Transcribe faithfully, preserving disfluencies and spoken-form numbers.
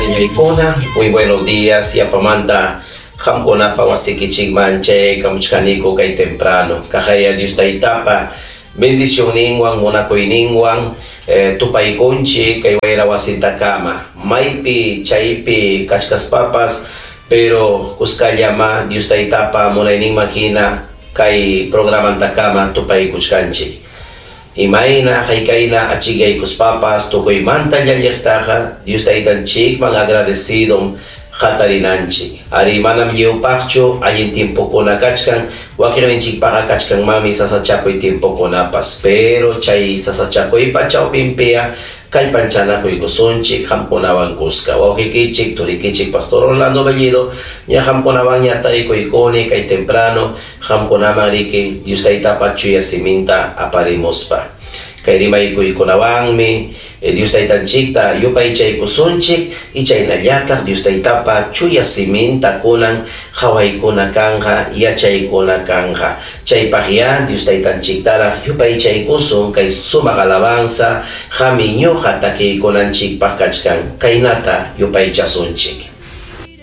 Ñañaykuna, muy buenos días. Yapamanta qamkunapa wasikichikman chayaykamuchkaniku kay temprano. Kaqaya Dios Taytapa bendicionninwan, munakuyninwan eh, tupaykunchik kay wayra wasintakama. Maypi chaypi kachkaspapas, pero kuskallama Dios Taytapa munayninman hina kay programantakama tupaykuchkanchik. Imayna haykayna achikyaykuspapas tukuymanta llalliqtaqa Dios Taytanchikman agradecido hatarinanchik. Ari manam lliwpaqchu allin tiempokuna kachkan, wakiqninchikpaqa kachkanmanmi sasachakuy tiempokunapas, pero chay sasachakuypa chawpinpiqa kallpanchanakuykusunchik qamkunawan kuska. Wawqikichik, turikichik Pastor Orlando Bellido, ña qamkunawan ña tarikuykuni kay temprano qamkunaman riki Dios Taytapa chuya siminta aparimuspa. Kay rimaykuykunawanmi eh, Dios Taytanchikta yupaychaykusunchik y chaynallataq Dios Taytapa chuya siminta kunan hawaykuna kanja yachaykuna kanja. Chaypaqya Dios Taytanchiktaraq yupaychaykusun kay sumaq alabanza hami ñuqa takiykunanchikpaq kachkan kaynata yupaychasunchik.